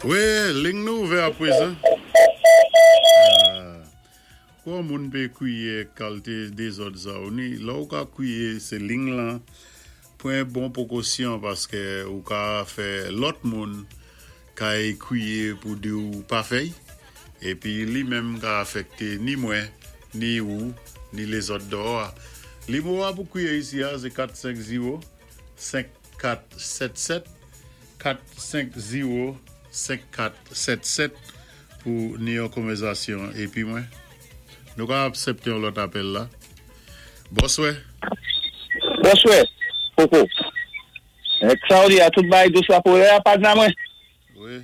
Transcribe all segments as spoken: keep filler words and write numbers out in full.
Wi, liy nou ouvè apwézan. Kon moun pé kwiyé kalité dézòd sa ou ni, la ou ka kwiyé sé liy lan, pwan bon pwékosyon paské ou ka fè lòt moun kay kwiyé pou di ou pa fè'y, épi li menm ka afèkté ni mwen, ni ou, ni lézòt déyò. Nimewo pou kwiyé isi a, sé kat senk zewo senk kat sèt sèt, kat senk zewo senk kat sèt sèt pou ni yon konvèzasyon épi mwen. Nou ka aksèpté yon lòt apèl la. Bonswè. Bonswè, Koko. Claudia, tout bagay dous la pou la pa nan mwen. Wi.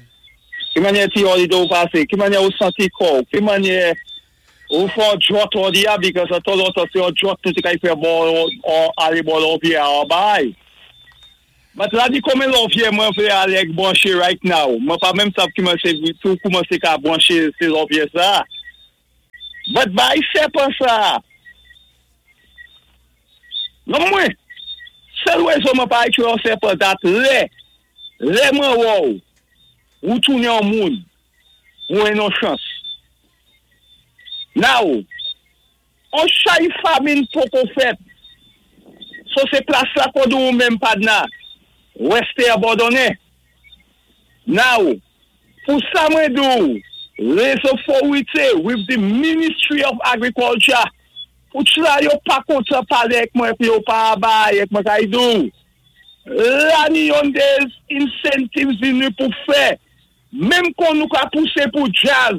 Ki mannyè ti holiday ou pasé? Ki mannyè ou santi kò? Ki mannyè ou fè djòt on di because a Toronto sé yon djòt tout kay fè bon alé bò lòvyè an bay. But la di konmen lòvyè mwen vlé alé branché right now. Mwen pa menm sav ki mwen tout koumansé ka branché sé lòvyè sa. But bay sèpan sa. Non mwen, sèl wézo mwen pa ékwi yon sèpan dat lè, lè mwen wòw, ou tounen an moun, ou en non chans. Now, on chay famin poko fèt, so sé plas la kodou ou menm padna, weste abandonné. Now, pou sa mwen dou, les authorités with the Ministry of Agriculture, pou tla yo pa kontan palé ek mwen, pi yo pa bay ek mwen kay dou. La ni yon des incentives vini pou fè, menm kon nou ka poussé pou jazz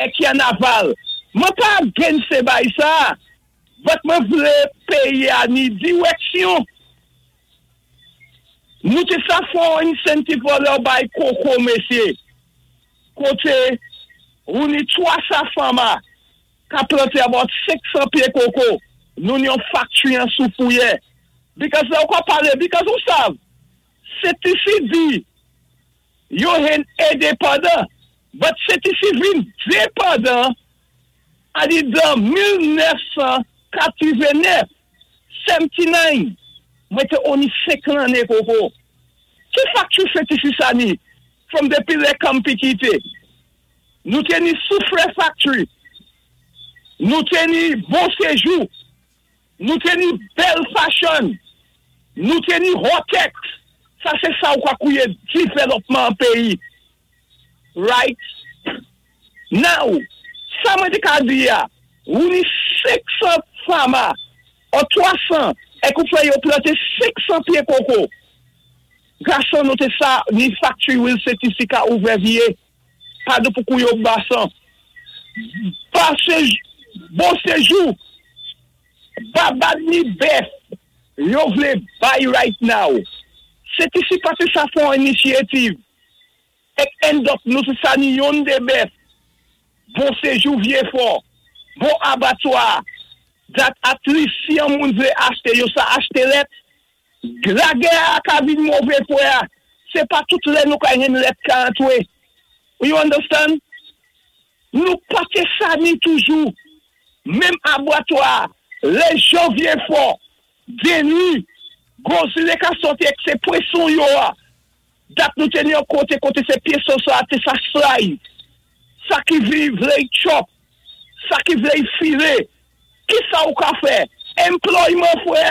ek kanaval. Mwen pa against se bay sa, but mwen vlé péyi a ni direksyon. Nou té sa fon incentive pou lè bay koko, mesyé. Koté, ou ni twa san farmer ka planté about senk san pyé koko. Nou ni yon factory an Soufrière. Because la ou ka palé, because ou sav, C T C di, yo hen endepandan, but C T C vin depandan, a di dan mil nèf san katwéven-nèf, sewennti-nayn, mwen té oni senk lanné koko. Ki factory C T C sa ni? From depi lè Kampi kité. Nou té ni Soufrière Factory. Nou té ni Bon Séjour. Nou té ni Belle Fashion. Nou té ni Hotex. Sa sé sa ou ka kwiyé développement péyi. Right? Now, sa mwen té ka di ya, ou ni senk san farmer, ou twa san, ek ou fè yo planté senk san pyé koko. Gason nou té sa, ni factory will C T C ka ouvè vyé, pa de pou kou yo basan. Ba Bon Séjour, babad ni bèf, yo vlé bay right now. C T C pa té sa fon initiative. Ek end up nou sé sa ni yon dé bèf. Bon Séjour vyé fò. Bon abattoir. That at least si yon moun vlé achté, yo sa achté lèt. Lagè a ka vin mové fwè. Sé pa tout lè nou ka yon lèt ka antwé. You understand? Nou pa té sa ni toujou. Menm abattoir, lè jan vyé fò, deni, gozile ka soti ek se pweson yo a. Dat nou teni yon kote kote se pyeson sa te sa slice. Sa ki vi vle chop. Sa ki vle file. Ki sa ou ka fè? Employment fwè.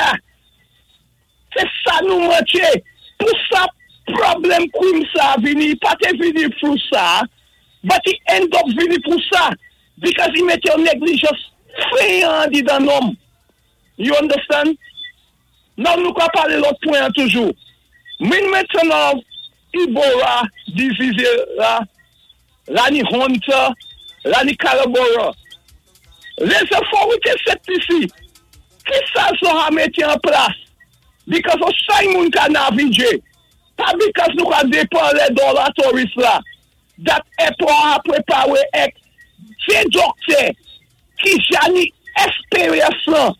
Se sa nou manché. Pou sa problem kouim sa vini, pa te vini pou sa, but he end up vini pou sa. Because he mette yon negligence feyan di dan nom. You understand? Nan nou ka pale lòt pwen toujou. Min maintenant Ebola disease la, la ni Hunter, la ni Kalabora. Les autorités C T C, ki sa so ha mette en place? Because o say moun ka navige, pa because nou ka depan le dollar tourist la, that airport a prepare ek, se doktè ki jani esperyans lan,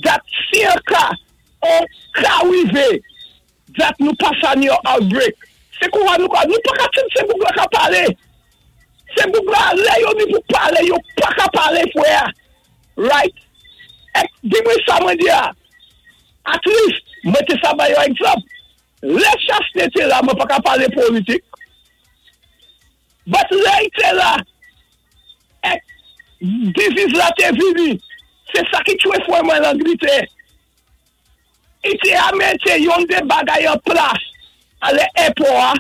that si an ka, on ka wive, that nou pa sa ni yon outbreak. Se kou nou ka, nou pa ka ten se bouk la ka pale. Se bouk la, le yo ni pou pale, yo pa ka pale fwe. Right? Ek, di mwen sa mwen di ya. At least, mwen te sa ba yo egzanp. Le Chastanet te la, mwen pa ka pale politik. But lè i té la, èk disease la té vini, sé sa ki tchwé fwè mwen Langletè. I té a mété yon dé bagay an plas a lè airport,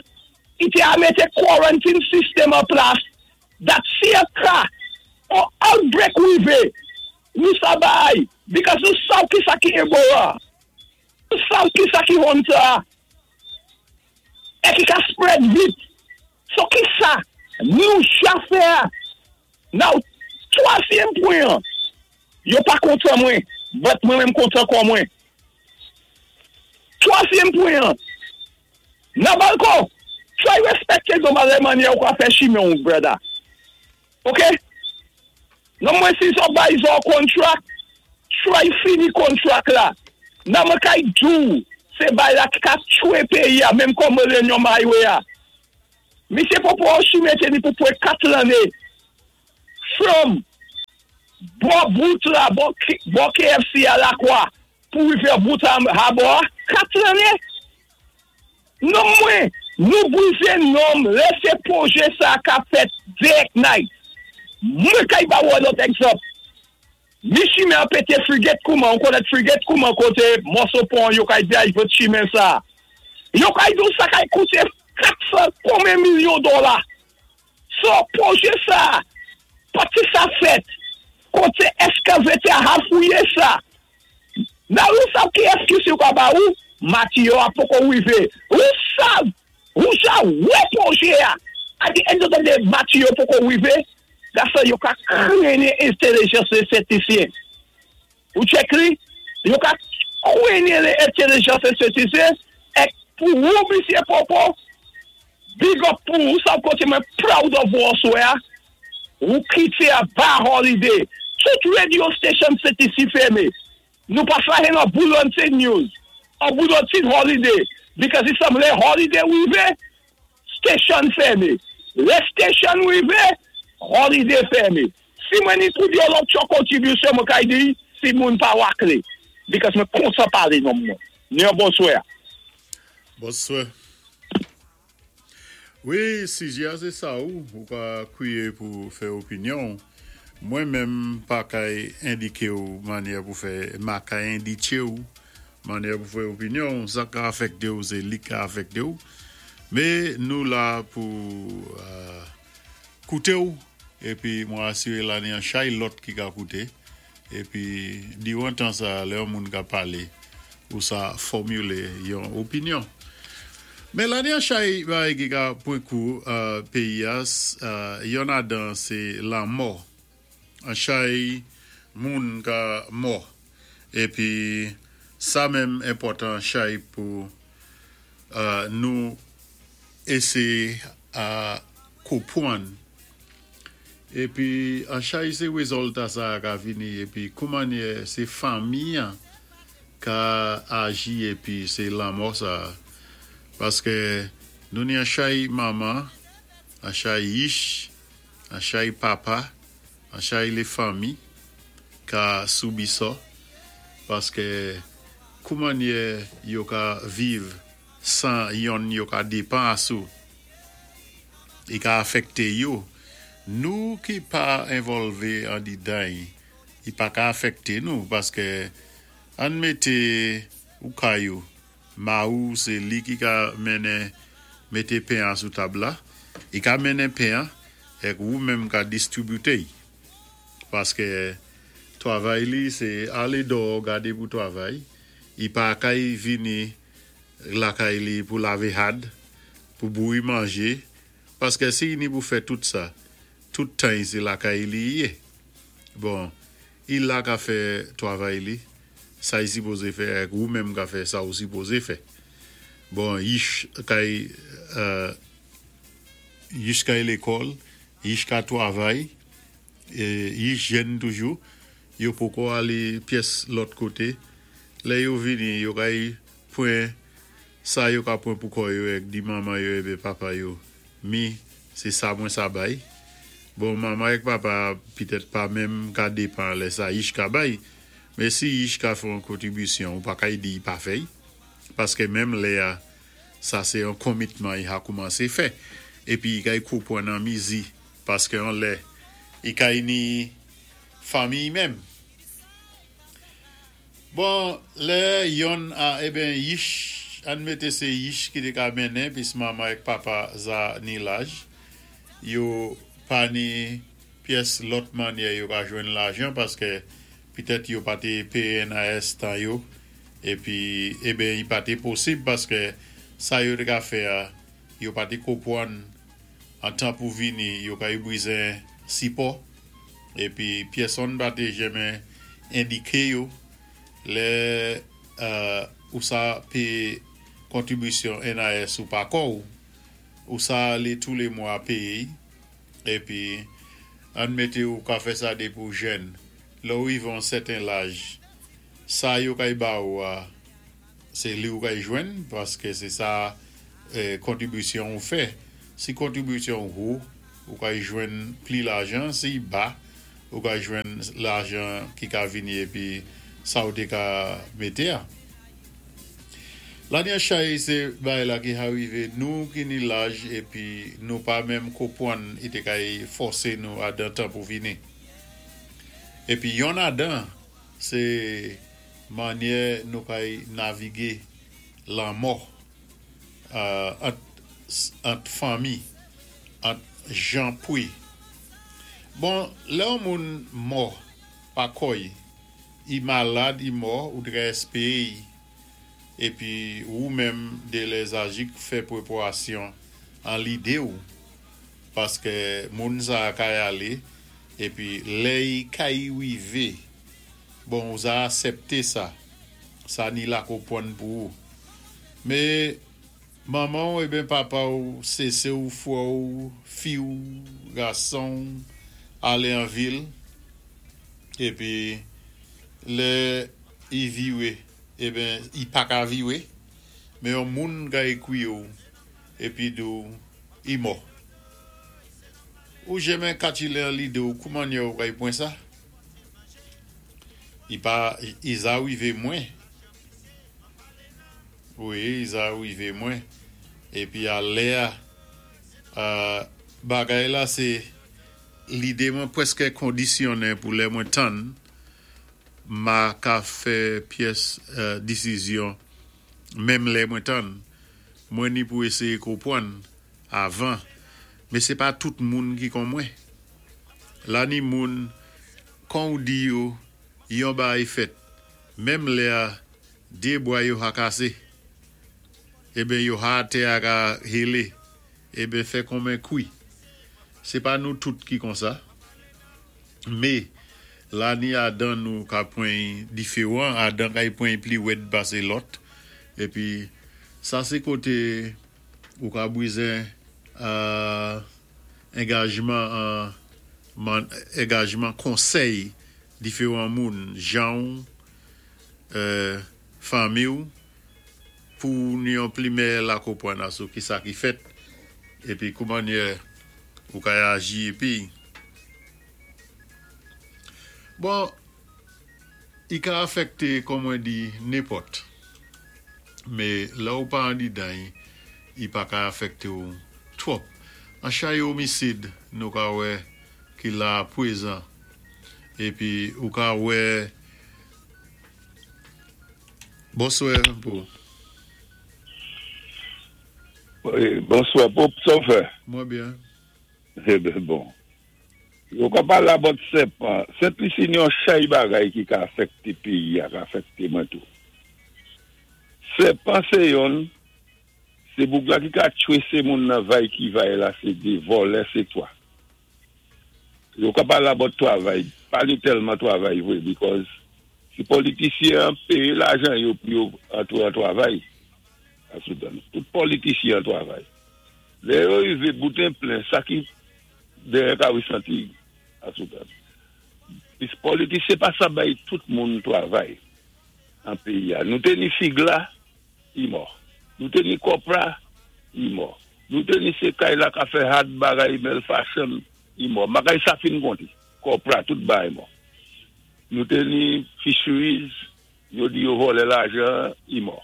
i té a mété quarantine system an plas, that si a ka, or outbreak wivé, nou sa bay, because nou sav ki sa ki Ebola, nou sav ki sa ki Hanta, é ki ka spread vit. So ki sa, nou cha fè. Now, twazyèm pwen, yo pa kontan mwen, but mwen menm kontan kon mwen. Twazyèm pwen, nan balkon, try respekté zon malè manyè ou ka fè chimen ou, brother. Ok? Non mwen si zon bay zon contract, try fini contract la. Nan mwen kay dou, sé bay la ki ka tchwé péyi a, menm kon Millennium Highway a. Misye Popo chimen té ni pou pwé kat lanné. From bò bout la, bò bò K F C a Lakwa, pou rivé bout a Harbor, kat lanné. Non mwen, nou bwizé nonm, lè sé pwojé sa ka fèt day and night. Mwen kay ba ou lòt egzanp. Mi chimen an pété Frigate kouman, on konnèt Frigate kouman koté moso pon yo kay di a vòt chimen sa. Yo kay dou sa kay kouté kat san konbyen milyon dola. So, pwojé sa, pati sa fèt, koté eskavatè a fouyé sa. Nan ou sav ki eskiz yo ka ba ou, matiyo a poko wivé. Ou sav, ou sa wè pwojé a. At the end of the day, matiyo poko wivé, gasa yo ka kwenye entelijans lé Sentisyen. Ou check li, yo ka kwenye lé entelijans lé Sentisyen, èk pou ou, misye Popo, big up pou ou, sa koté mwen proud of ou aswè a, ou kité a ba holiday. Tout radio station Sentisi fèmé. Nou pa sa hen an bulletin news, an bulletin holiday, because if some lè holiday wivé, station fèmé. Lè station wivé, holiday fèmé. Si mwen ni pou di yon lòt chò kontribisyon mwen kay di, si moun pa wakle. Because mwen konsan pale non mwen. Ni yon bonswè. Bonswè. Wi, si jya sé sa ou, ou ka kwié pou fè opinyon, mwen menm pa kay endiké ou manyè pou fè, ma kay enditché ou manyè pou fè opinyon, sa ka afekté ou, sé li ka afekté ou. Mé nou la pou uh, kouté ou, épi mwen asiré la ni an chay lòt ki ka kouté, épi di ou an tan sa, lè yon moun ka palé, ou sa fòmilé yon opinyon. Mé la ni an chay bagay ki ka pwan kou uh, péyi a, uh, yon adan sé lanmò. An chay moun ka mò. Épi sa menm enpòtan chay pou uh, nou éséyé a konpwann. Épi an chay sé wézilta sa ka vini épi kouman sé fanmi an ka aji épi sé lanmò sa. Paské nou ni an chay manman, an chay yich, an chay papa, an chay lé fanmi ka soubi sa. Paské kouman yo ka viv san yon yo ka dépan asou. I ka afekté yo. Nou ki pa envòlvé an didan, i pa ka afekté nou paské an mété ou kayou. Ma ou sé li ki ka mennen mété pen an sou tab la. I ka mennen pen an, èk ou menm ka distribité. Paské twavay li sé alé dò gadé pou twavay. I pa kay vini lakay li pou lavé had, pou bouyi manjé. Paské si ni pou fè tout sa, tout tan sé lakay li yé. Bon, i la ka fè twavay li, sa i sipozé fè, èk ou menm ka fè sa ou sipozé fè. Bon, yich kay, uh, yich kay lékòl, yich ka twavay, é yich jèn toujou, yo poko alé pyès lòt koté. Lè yo vini, yo kay pwan sa yo ka pwan pou kò yo èk di manman yo ébi papa yo. Mi, sé sa mwen sa bay. Bon, manman èk papa pitèt pa menm ka dépan lè sa yich ka bay. Mé si yich ka fè yon kontribisyon, ou pa kay di pa fèy. Paské menm lè a, sa sé yon commitment i ha koumansé fè. Épi i kay konpwann an mizi paské an lè i kay ni fanmiy menm. Bon, lè yonn a eben yich, ann mété sé yich ki té ka mennen pis manman èk papa za ni laj, yo pa ni pyès lòt mannyè yo ka jwenn lajan paské pitèt yo pa té péyé N I S tan yo épi eben i pa té posib paské sa yo té ka fè a, yo pa té konpwann an tan pou vini yo kay bwizen sipò épi pyèsonn pa té jenmen endiké yo lè euh, ou sa péyé kontribisyon N I S ou pa kò ou, ou sa alé tou lé mwa péyé épi ann mété ou ka fè sa dépi ou jèn, lè ou rivé an sèten laj, sa yo kay ba ou a, sé li ou kay jwenn paské sé sa eh, kontribisyon ou fè. Si kontribisyon ou, ou kay jwenn pli lajan, si ba, ou kay jwenn lajan ki ka vini épi sa ou té ka mété a. La ni chay sé bagay la ki arivé nou ki ni laj épi nou pa menm konpwann i té kay fòsé nou adan tan pou vini. Épi yonn adan sé mannyè nou kay navigé lanmò euh, ant, ant fanmi, ant jan pwi. Bon, lè yon moun mò pa kòy, i malad, i mò, ou té ka èspéwé épi ou menm dé lèzajik fè pwéparasyon an lidé ou paské moun sa kay alé épi lè i kay rivé, bon, ou za asèpté sa, sa ni la konpwann pou ou. Mé manman ou eben papa ou, sé ou fwè ou, fi ou, gason alé an vil épi lè i viwé, eben i pa ka viwé, mé yon moun ka ékwi ou épi di ou i mò. Ou jenmen katchilé an lidé ou kouman ou kay pwan sa? I pa i za rivé mwen. Wi, i za rivé mwen. Épi a lè a euh, bagay la sé lidé mwen pwèské kondisyonnen pou lè mwen tann ma ka fè pyès euh, désizyon menm lè mwen tann. Mwen ni pou éséyé konpwann avan. Mé sé pa tout moun ki kon mwen. La ni moun kon ou di yo yon bagay fèt, menm lè a dé bwa yo ha kasé. Eben yo ha té a ka hélé. Eben fè konmen kwi. Sé pa nou tout ki kon sa. Mé la ni adan nou ka pwan diféwan, adan kay pwan pli wèd pasé lòt. Épi sa sé koté ou ka bwizen euh, angajman an man, angajman konsèy diféwan moun, jan euh, fanmi ou pou ni yon pli mèyè la konpwann asou ki sa ki fèt épi kouman ou ka aji. Épi bon, i ka afèkté kon mwen di nenpòt. Mé la ou pa an di dan, i pa ka afèkté ou twòp. An chay omisid nou ka wè ki la pwézan. Épi ou ka wè. Bonswè pou. Wi, bonswè, Pope, sa ou fè? Mwen byen. Eh ben bon. Yo ka pala bot sèpan. Sent Lisi ni yon chay bagay ki ka afèkté péyi a, ka afèkté mwen tou. Sèpan sé yon, sé boug la ki ka tchwésé moun nan vay ki vay la, sé dé, vòlè sé twa. Yo ka pala bot twavay, pa ni tèlman twavay vwé, because si politisyen péyé lajan yo pou yo antwé an twavay, asoudan, tout politisyen an twavay. Lè yo rivé bouten plen, sa ki dèyè ka wé santi, asoudan. Pis politisyen pa sa bay tout moun twavay an péyi a. Nou té ni fig la, i mò. Nou té ni kopra, i mò. Nou té ni sé kay la ka fè had bagay mel fashion, i mò. Bagay sa fin konti. Kopra, tout bagay mò. Nou té ni fisheries, yo di yo vòlè lajan, i mò.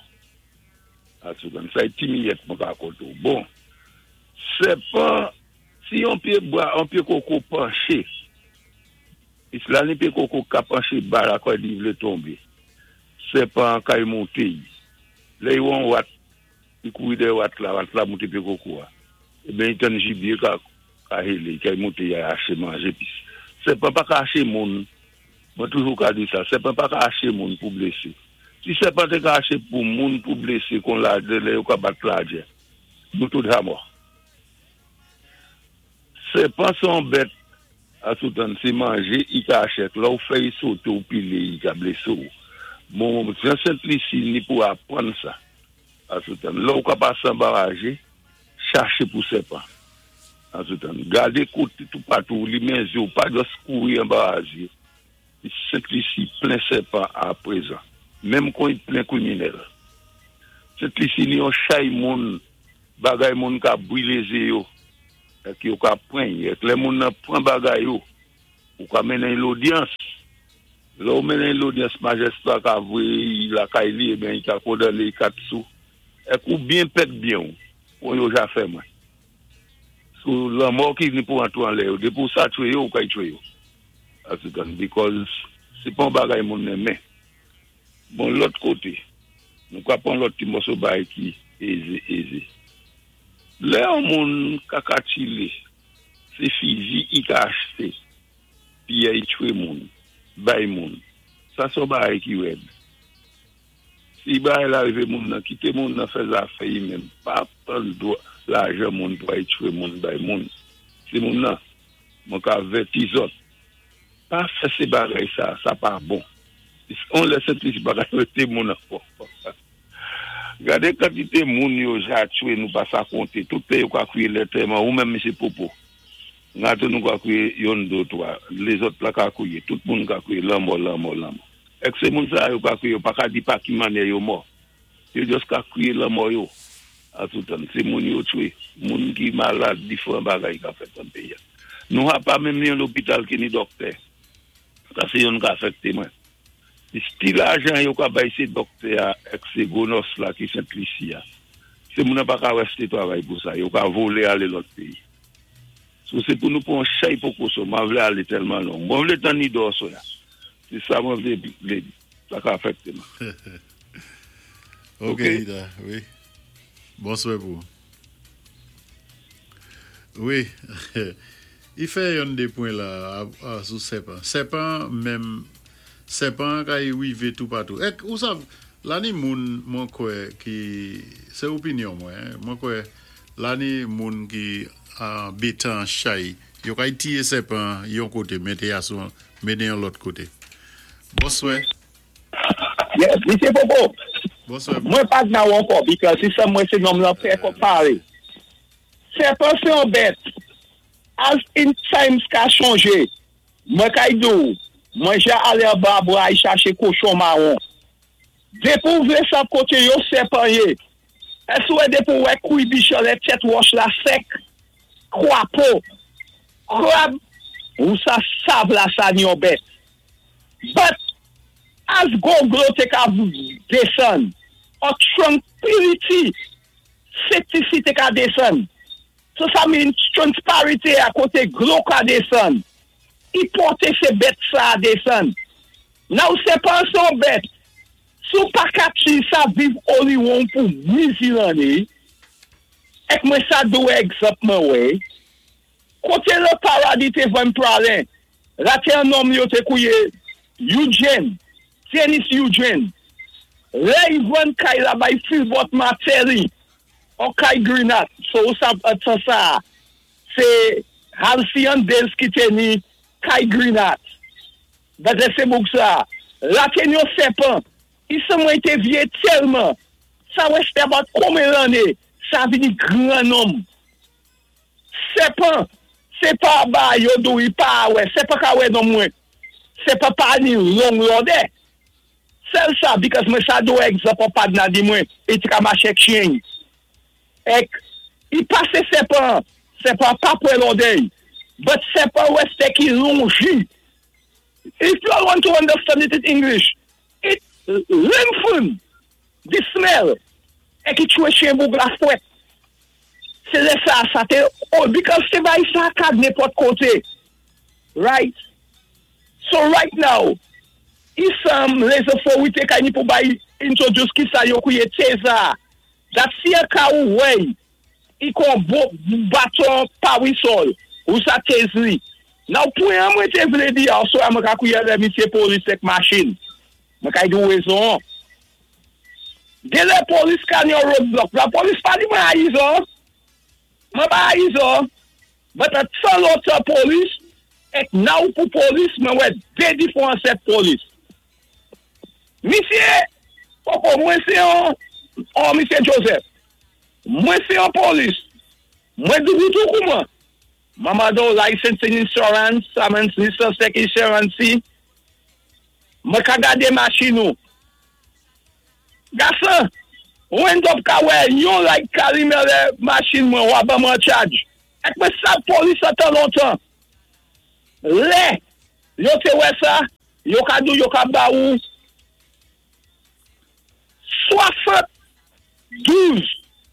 Asoudan, sa é ti miyèt mwen ka konté ou. Bon, Sèpan, si yon pyé bwa, yon pyé koko panché, la ni pyé koko ka panché ba la kwa li vlé tonbé. Sèpan kay monté. Lè yon wat, li kouri dèyè wat la, wat la monté pyé koko a. Eben, i tann jibyé ka, ka hélé, kay monté ya aché manjé pis. Sèpan pa ka aché moun, mwen toujou ka di sa, sèpan pa ka aché moun pou blésé. Si sèpan té ka aché pou moun pou blésé kon la, lè yo ka bat la djè, nou tout ja mò. Sèpan son bèt a soutan, sé manjé, i ka aché, la ou fè i soté ou pilé, i ka blésé ou. Bon, jan Sent-Lisi ni pou aprann sa, a soutan. La ou ka pasé anba rajé, chaché pou sèpan. A soutan. Gadé koté tout patou, li men zye ou, pa jis kouri anba rajé. Sent-Lisi plen sèpan a prezan. Menm kon i plen kwiminèl. Sent-Lisi ni yon chay moun, bagay moun ka bwilé zye yo, ki yo ka pran, ek lè moun nan pran bagay yo, ou ka mennen lodyans. Lè ou mennen lodyans, majistra ka voyé lakay li, eben i ka kondané kat sou. Ek ou byen pèd byen ou, ou yo ja fè mwen. Sou lanmò ki vini pou antou an lè yo, depi ou sa tchwé yo, ou ka y tchwé yo. Asutan, because sé pa bagay moun renmen. Bon, lòt koté, nou ka pran lòt ti mòso bay ki ézé, ézé. Lè yon moun ka katchilé, sé fizi i ka achté, pi ya i tchwé moun, bay moun. Sa son bagay ki wèd. Si bagay la rivé moun nan, kité moun nan fè zafè yi menm, pa pran dwa lajan moun pou ay tchwé moun, bay moun. Si moun nan, moun ka vèti zòt. Pa fè sé bagay sa, sa pa bon. On lè Sent-Lisi bagay wèté moun ankò. Gadé kantité moun yo ja tchwé nou pa sa konté. Tout lè yo ka kwiyé lantèman, ou menm misye Popo. Ngato nou ka kwiyé yon, dé, twa. Lézòt la ka kwiyé. Tout moun ka kwiyé lanmò, lanmò, lanmò. Ek sé moun sa yo ka kwiyé, yo pa ka di pa ki mannyè yo mò. Yo jis ka kwiyé lanmò yo. A toutan, sé moun yo tchwé. Moun ki malad, diféran bagay ka fèt an péyi. Nou ha pa menm ni yon lopital ki ni dòktè. Sa sé yon ka afèkté mwen. Ti lajan yo ka bay sé dòktè a ek sé gwo nòs la ki Sent-Lisi a. Sé moun nan pa ka wèsté travay pou sa. Yo ka volé alé lòt péyi. So sé pou nou pran chay pwékosyon. Mwen vlé alé tèlman long. Mwen vlé tann ni dòso ya. Sé sa mwen vlé, vlé di. Sa ka afèkté mwen. Ok, Ok. Ida, wi. Bonswè pou. Wi. I fè yon dé pwen la a, a, sou sèpan. Sèpan menm sèpan ka y wivé tout patou. Ek ou sav, la ni moun mwen kwè ki sé opinyon mwen, mwen kwè la ni moun ki an bétan chay, yo ka y tiyé sèpan yon koté, mété a sou mété yon lòt koté. Bonswè. Yes, Misye Popo. Bonswè. Mwen pa nan ou ankò, because si sa mwen sé nonm lan fè ko palé. Sèpan sé yon bèt. As in times ka chanjé. Mwen kay dou, mwen ja alé anba bwa ay chaché kochon mawon. Depi ou vlé sa koté yo sèpan yé. Ès wè depi ou wè kouy bichan lè tèt wòch la sèk, kwapo, krab, ou sa sav la sa ni yon bèt. But, as gwo dlo te ka desann, or tranquility, safety te ka desann. So sa mean transparency a koté dlo ka desann. I pòté sé bèt sa desann. Now sèpan son bèt. Sou pa kapsi sa viv oliwon pou mizi lanné, ek mwen sa dou egzanp mwen wè, koté le paradis té vann pralen, la té an nonm yo té kouye Eugene, Dennis Eugene, lè yi vann kay la bay Philbert Martelly, an kay Grenat, so ou sa atan sa, sé Halcyon Days ki té ni kay Grenat. Bade sé bouk sa, la té ni yon sèpan, i se mwen té vyé tèlman, sa wè se about konbyen lanné, sa vini gran nonm. Sèpan, sé pa ba yo dou i pa wè, sé pa ka wè non mwen, sé pa pa ni long lòdè. Sèl sa, because mwen sa dou egzanp an pad na di mwen, i ti ka maché ek chyen. Ek, i pasé sèpan, sèpan pa pwè lòdè, but sèpan wè se ki lonji. If you all want to understand it in English, it lengthen the smell. E ki tchwé chyen boug la fwèt. Sé lè sa, sa té, oh, because sé bay sa kad nenpòt koté. Right? So right now, isam les autorités kay ni pou bay introduce ki sa yo kwié taser. That si an ka ou wey, i kon bo, baton pawisol, ou sa tase li. Now, pwen an mwen té vlé di also, a mwen ka kwié lè misyé polis ek machin. Mwen kay di wezon. Dé lè polis ka ni yon roadblock, la polis pa di mwen a izo. Mwen pa a izo. But a tan lontan polis, ek now pou polis, mwen wè dé difwan set polis. Misye, poko, mwen sé yon, oh, misye Joseph, mwen sé yon polis, mwen doubou tou kou mwen. Mama do license and insurance, samen lisans ek insurance, mwen ka gade machin nou. Gasan, ou end up ka wè yon like kalime lè machin mwen wap ba mwen charge. Ek mwen sa polis a tan lontan. Lè, yo té wè sa, yo ka dou yo ka ba ou swasann-douz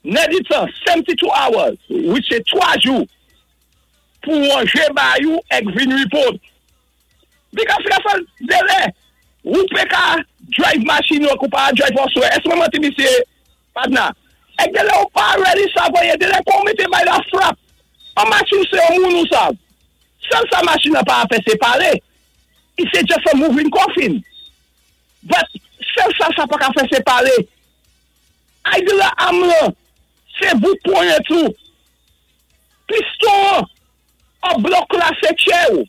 nèditan, seventy-two hours, which is twa jou, pou wanje ba you ek vin report. Because gasan, dé lè, ou pé ka drive machin yo kou pa drive oswè. Ès mwen manti misye, padna. Ek dé lè ou pa ready sa voye, dé lè kon mette bay la frap. An machin sé yon moun ou sav. Sèl sa machin nan pa a fè sé palé. I sé just a moving coffin. But, sèl sa sa pa ka fè sé palé. Ay di la am la, sé bout ponyèt ou. Piston, an blok la sé tchè ou.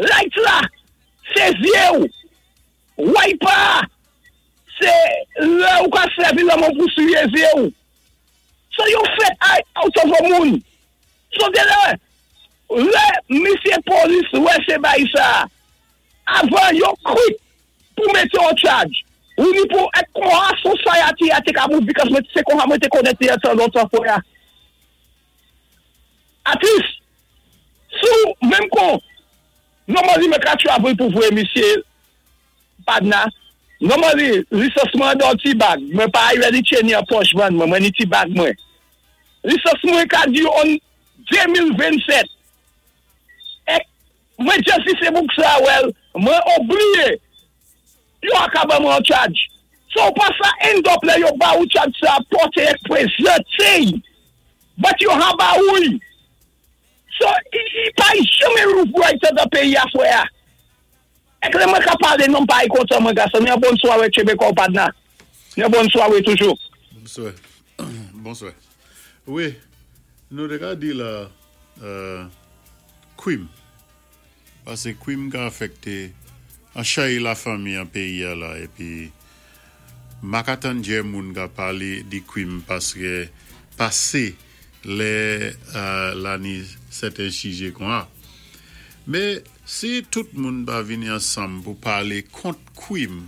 Light la, sé zyé ou. Wiper, sé lè ou ka sèvi la moun pou siye zyé ou. So yo fèt ay out of a moun. So dé lè, lè misye polis wè sé bay sa, avan yo quick pou mette yon charge. Ou ni pou ek kon a society a te ka move because mwen se kon a mwen te konete yon tan lontan fò ya. At least, sou menm kon, normally mwen ka travel pou vwe misye Padna, normally lisans mwen dan ti bag, mwen pa ay ready chen yon poch van mwen, mwen ni ti bag mwen. Lisans mwen ka di on de mil vennnsèt. Ek, mwen just si se bouk sa well, mwen oubliye, yo akaba mwen charge. So pa sa end up le yo ba ou charge sa pote ek prezante, but yo ha ba ou. So, i, i pa yi jame roof right da peyi a fwe a. Ek lè mwen ka pale non pa yi kontan mwen gason. Yon bon sware chebe kon padna. Yon bon sware toujou. Bonswa. Bonswa. Wi, nou té ka di la euh, kwim. Pasé kwim ka afekté an chay la fanmi an péyi a la épi ma ka tann djè moun ka palé di kwim paské pasé lè euh, la ni sèten sijè kon a. Mé si tout moun pa vini ansanm pou palé kont kwim,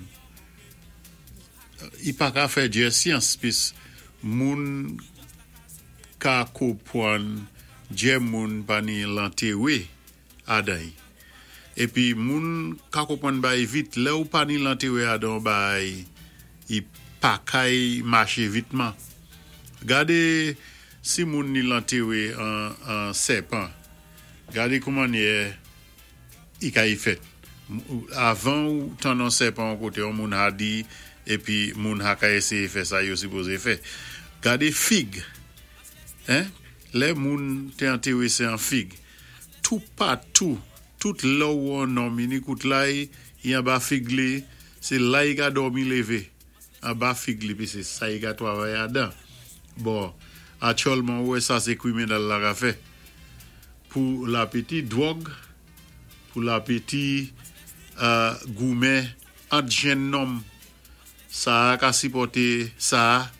i pa ka fè djè syans pis moun ka konpwann djè moun pa ni lantéwé adan. Épi moun ka konpwann bay vit, lè ou pa ni lantéwé adan bay, i pa kay maché vitman. Gadé si moun ni lantéwé an, an sèpan, gadé kouman yè i ka y fèt. Avan ou tann an sèpan koté, an moun ha di, épi moun ha ka éséyé fè sa yo sipozé fè. Gadé fig, hein? Lè moun té antéwé sé an fig. Tou patou, tout lò ou an nonm, ni kout lay, i an ba fig li, sé la i ka dòmi lévé. An ba fig li, pi sé sa i ka twavay adan. Bon, aktyèlman wè sa sé kwiminèl la ka fè. Pou la piti dwòg, pou la piti euh, goumen ant jenn nonm, sa ka sipòté sa,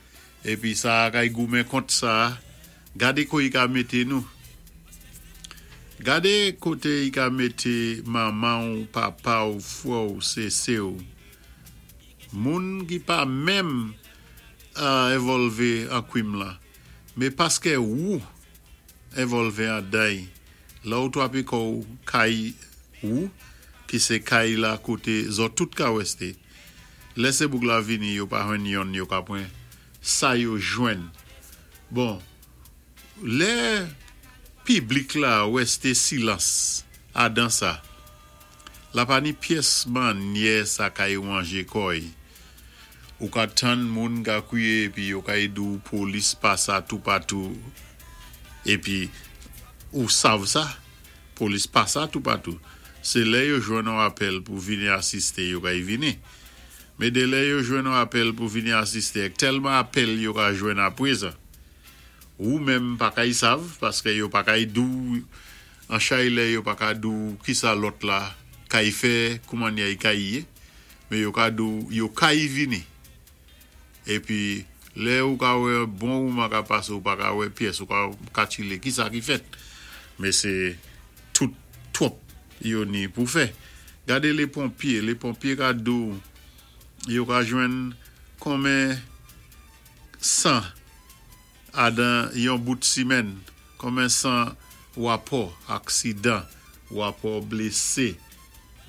épi sa ka y goumen kont sa, gadé ko i ka mété nou. Gadé koté i ka mété manman ou papa ou fwè ou sé sè ou. Moun ki pa menm uh, envòlvé an kwim la, mé paské ou envòlvé an day, la ou twapé kou kay ou, ki sé kay la koté zòt tout ka wèsté. Lè sé boug la vini, yo pa jwenn yonn yo ka pwan, sa yo jwenn. Bon, Lè piblik la wè sé silans adan sa. La pa ni pyès mannyè sa kay wanjé kò'y. Ou ka tann moun ka kwiyé épi yo kay di-w polis pasa toupatou épi ou sav sa, polis pasa toupatou. Sé lè yo jwenn yon apèl pou vini asisté yo kay vini. Mé dé lè yo jwenn yon apèl pou vini asisté, tèlman apèl yo ka jwenn apwé sa. Ou menm pa kay sav, paské yo pa kay di-w, an chay lè yo pa ka di-w ki sa lòt la kay fè, kouman yay kay yé, mé yo ka di-w yo kay vini. Épi, lè ou ka wè bon ou man ka pasé ou pa ka wè pyès ou ka katchilé ki sa ki fèt. Mé sé tout twòp yo ni pou fè. Gadé lé ponpyé, lé ponpyé ka di-w yo ka jwenn konmen san adan yon bout simèn, konmen san wapò aksidan, wapò blésé,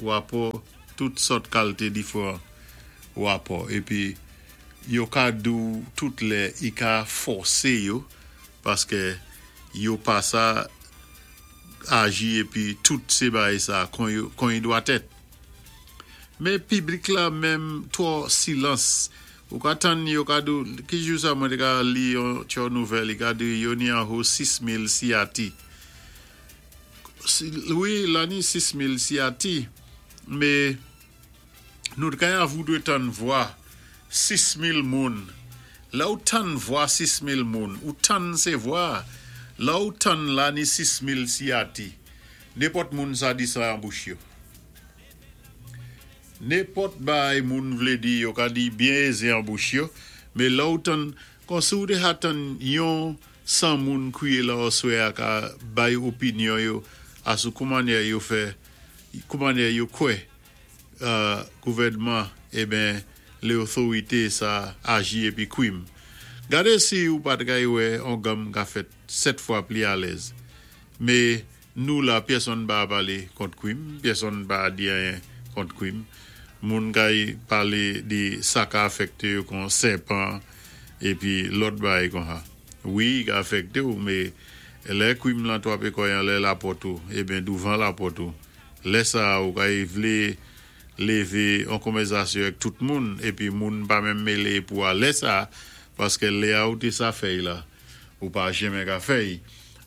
wapò tout sòt kalté diféwan wapò. Épi yo ka di-w tout lè i ka fòsé yo paské yo pa sa aji épi tout sé bagay sa kon yo kon i dwa tèt. Mé piblik la menm twò silans. Ou ka tann yo ka di-w, ki jou sa mwen té ka li yon tyo nouvèl, i ka di yo ni an ho sis mil siyati. Wi, la ni sis mil siyati, mé nou té kay avoudwé tann vwa sis mil moun. La ou tann vwa sis mil moun, ou tann sé vwa, la ou tann la ni sis mil siyati. Nenpòt moun sa di sa an bouch yo. Nenpòt bay moun vlé di, yo ka di byen ézé an bouch yo, mé la ou tann, kon si ou té ka tann yon san moun kwiyé la oswè a ka bay opinyon yo asou kouman yo fè, kouman yo kwè euh, gouvèdman, eben, lé otorité sa aji épi kwim. Gadé si ou pat kay wè, on gam ka fèt sèt fwa pli alèz. Mé nou la, pèsonn pa palé kont kwim, pèsonn pa di anyen kont kwim. Moun kay palé di sa ka afèkté yo kon sèpan épi lòt bagay kon sa. Wi, ka afèkté ou, mé lè kwim lan twapé kò'y anlè lapòt ou, eben douvan lapòt ou. Lè sa ou kay vlé lévé an konvèzasyon ak tout moun, épi moun pa menm mélé pou alè sa, paské lè a ou té sa fèy la, ou pa jenmen ka fèy.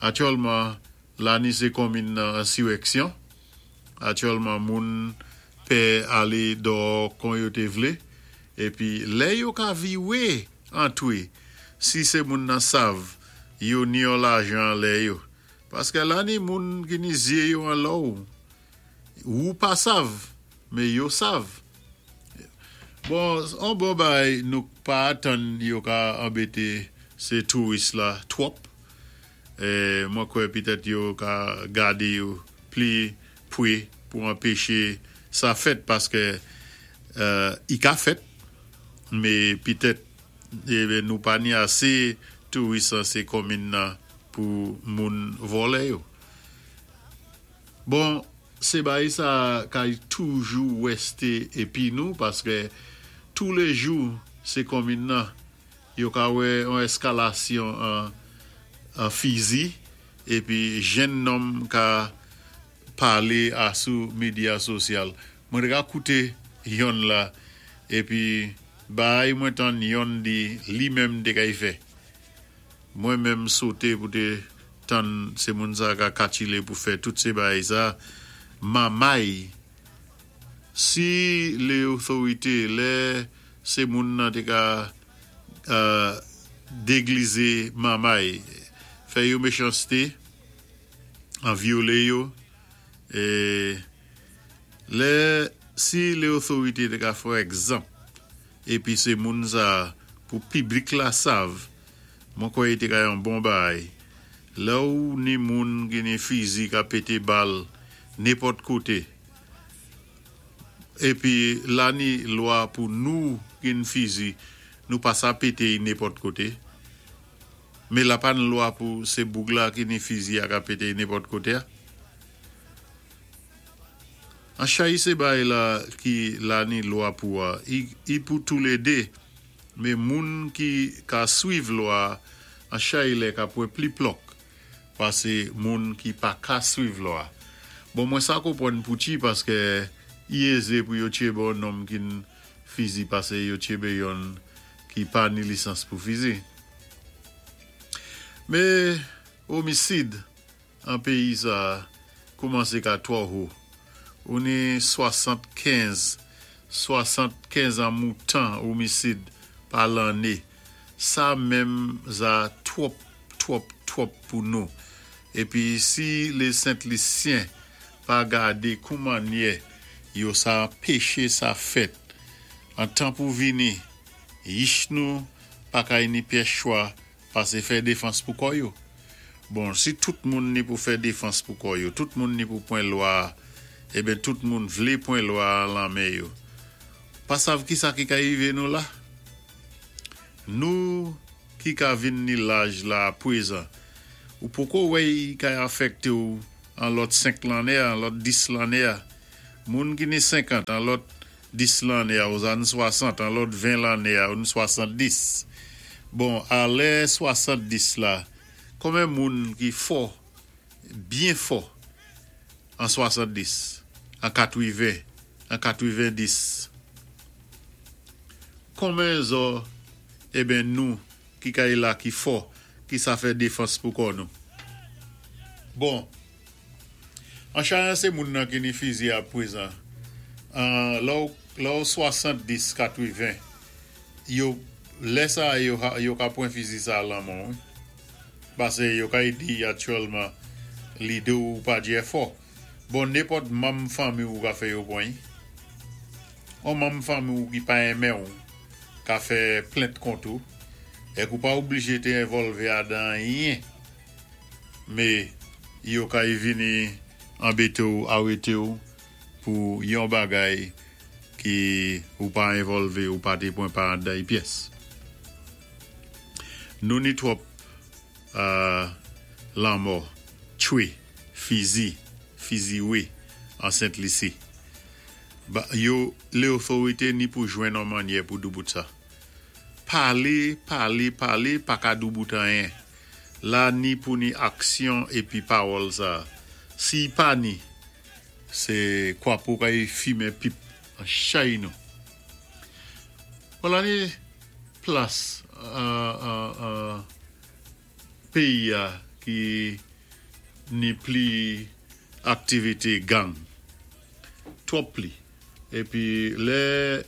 Aktyèlman, la ni sé konmin nan ensiwèksyon. Aktyèlman, moun pè alé dò kon yo té vlé, épi lè yo ka viwé antwé, si sé moun nan sav, yo ni yon lajan lè yo. Paské la ni moun ki ni zyé yo an lò ou, ou pa sav, mé yo sav. Bon, an bon bay nou pa atan yo ka anbété sé touris la twòp. É, mwen kwè pitèt yo ka gadé yo pli pwé pou anpéché sa fèt paské euh, i ka fèt, mé pitèt eh, nou pa ni asé touris an sé konmin nan pou moun vòlè yo. Bon, sé bagay sa kay toujou wèsté épi nou paské tou lé jou sé konmin nan yo ka wè an eskalasyon an, an fizi épi jenn nonm ka palé asou medya sosyal. Mwen té ka kouté yonn la épi bay mwen tann yonn di li menm té kay fè. Mwen menm soté pou té tann sé moun sa ka katchilé pou fè tout sé bagay sa. Mamay, si lé otorité, lè sé moun nan té ka euh, déglizé mamay, fè yo méchansté, an vyolé yo, é lè si lé otorité té ka fè egzanp, épi sé moun sa pou piblik la sav, mwen kwè té ka yon bon bagay. Lè ou ni moun ki ni fizi ka pété bal nenpòt koté. Épi la ni lwa pou nou gin fizi, nou pa sa pété nenpòt koté. Mé la pa ni lwa pou sé boug la ki ni fizi a ka pété nenpòt koté. An chay sé bagay la ki la ni lwa pou a, i, i pou tou lé dé. Mé moun ki ka swiv lwa, an chay lè ka pwan pli plòk. Pasé moun ki pa ka swiv lwa. Bon, mwen sa konpwann pouti paské i ézé pou yo tchébé on nonm ki ni fizi pasé yo tchébé yonn ki pa ni lisans pou fizi. Mé omisid an péyi sa koumansé ka twò wo. Ou ni swasannkenz, swasannkenz an moutan omisid pa lanné. Sa menm za twòp, twòp, twòp pou nou. Épi si lé Sent Lisyen pa gadé koumannyè yo sa anpéché sa fèt, an tan pou vini, yich nou pa kay ni pyès chwa pasé fè défans pou kò yo. Bon, si tout moun ni pou fè défans pou kò yo, tout moun ni pou pwan lwa, eben tout moun vlé pwan lwa lan men yo. Pa sav ki sa ki ka yivé nou la? Nou ki ka vin ni laj la pwézan, ou poko wè i ka afèkté ou an lòt senk lanné, an lòt dis lanné. Moun ki ni senkant, an lòt dis lanné, ou zan swasant, an lòt ven lanné, ou ni swasanndis. Bon, a lè swasanndis la, konmen moun ki fò, byen fò, an swasanndis, an katwiven, an katwivendis? Konmen zò, eben nou, ki kay la ki fò, ki sa fè défans pou kò nou? Bon, an chayan sé moun nan ki ni fizi a pwézan, an lò, lò swasanndis, katwiven, yo, lè sa yo, yo ka pwan fizi sa lan men ou. Pasé yo kay di aktyèlman lidé ou pa djé fò. Bon, nenpòt manm fanmi ou ka fè yo pwan. On manm fanmi ou ki pa enmen ou, ka fè plent kont ou, èk ou pa oblijé té envòlvé adan anyen. Mé yo kay vini anbété ou, arété ou, pou yon bagay ki ou pa envòlvé ou pa té pwan pa andan pyès. Nou ni twòp euh, lanmò, tchwé, fizi, fiziwé an Sent Lisi. Ba, yo, lé otorité ni pou jwenn on mannyè pou doubout sa. Palé, palé, palé, pa ka doubout anyen. La ni pou ni aksyon épi pawòl sa. Si pa ni, sé kwapo kay fimen pip an chay nou. Bon, la ni plas an, an, an péyi a ki ni pli aktivité gang. Twòp pli. Épi lè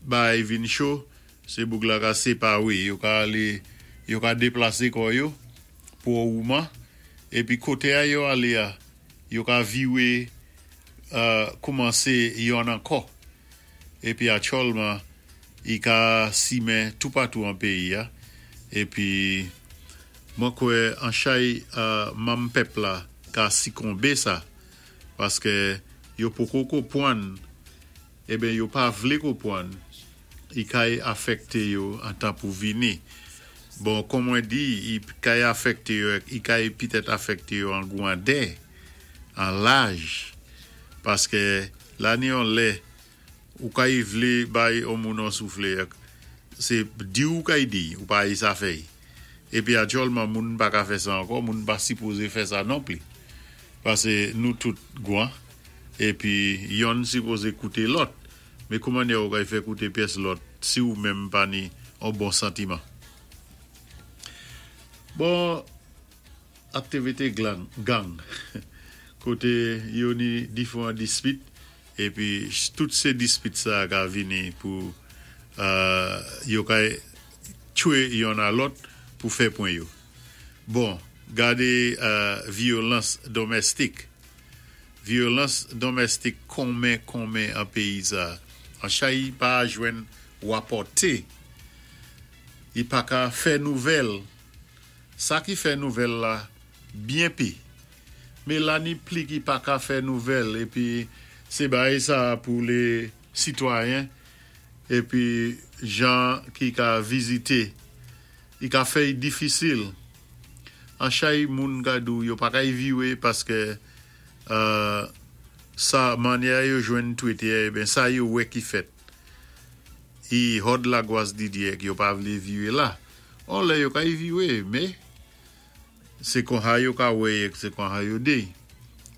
bay vin cho, sé boug la ka séparé, yo ka alé, yo ka déplasé kò yo pou ouman, épi koté a yo alé a, yo ka viwé euh, koumansé yonn ankò. Épi aktyèlman, i ka simen toupatou an péyi a. Épi mwen kwè an chay euh, manm pèp la ka sikonbé sa paské yo poko konpwann, eben yo pa vlé konpwann i kay afèkté yo an tan pou vini. Bon, kon mwen di, i kay afèkté yo, i kay pitèt afèkté yo an gwandè, an laj, paské la ni yon lè, ou kay vlé bay on moun an souflé, sé di ou kay di, ou pa yi sa fèy. Épi aktyèlman moun pa ka fè sa ankò, moun pa sipozé fè sa non pli. Pasé nou tout gwan, épi yonn sipozé kouté lòt. Mé kouman ou kay fè kouté pyès lòt si ou menm pa ni an bon santiman? Bon, aktivité gang, gang. Koté yo ni diféwan dispit, épi tout sé dispit sa ka vini pou euh, yo kay tchwé yonn a lòt pou fè pwen yo. Bon, gadé euh, vyolans domestik. Vyolans domestik konmen konmen an péyi sa. An chay pa jwenn wapòté. I pa ka fè nouvèl. Sa ki fè nouvèl la byen pi. Mé la ni pli ki pa ka fè nouvèl épi sé bay sa pou lé sitwayen épi jan ki ka vizité. I ka fè difisil. An chay moun ka dou yo pa ka viwé paské euh, sa mannyè yo jwenn Twitter, eh ben sa yo wè ki fèt. I hòd la gwas Didier yo pa vlé viwé la. On lè yo ka viwé, mé Sé konsa yo ka wè sé konsa yo dé.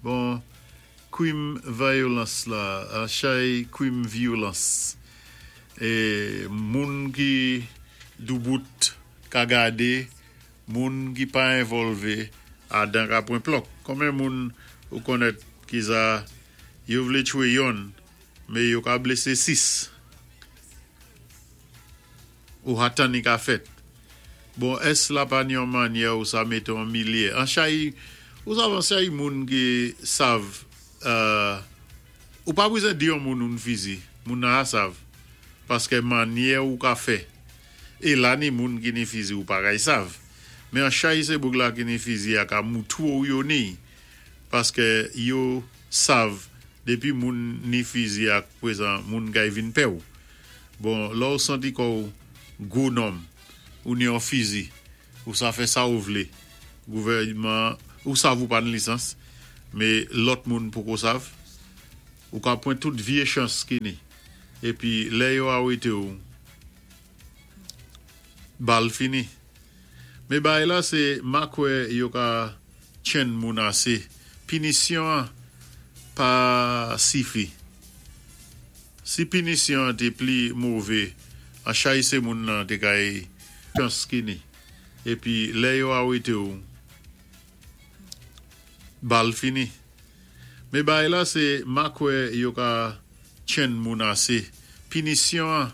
Bon, kwim vyolans la, an chay kwim vyolans. É moun ki doubout ka gadé, moun ki pa envòlvé, adan ka pwan plòk. Konbyen moun ou konnèt ki sa yo vlé tchwé yonn, mé yo ka blésé sis. Ou atan ni ka fèt. Bon, ès la pa ni yon mannyè ou sa mété an milyé. An chay, ou sav an chay moun ki sav, euh, ou pa bezwen di yon moun ou ni fizi, moun nan a sav. Paské mannyè ou ka fè. É la ni moun ki ni fizi ou pa kay sav. Mé an chay sé boug la ki ni fizi a ka moutou ou yo ni. Paské yo sav dépi moun ni fizi ak pwézan moun kay vin pè ou. Bon, la ou santi kò gwo nonm ou ni yon fizi, ou sa fè sa ou vlé. Gouvèdman, ou sav ou pa ni lisans, mé lòt moun poko sav. Ou ka pwan tout vyé chans ki ni. Épi lè yo arété ou, bal fini. Mé bay la sé ma kwè yo ka tchenn moun asé. Pinisyon pa sifi. Si pinisyon té pli mové, an chay sé moun nan té kay chans ki ni. Épi lè yo arété ou, bal fini. Mé bay la sé ma kwè yo ka tchenn moun asé. Pinisyon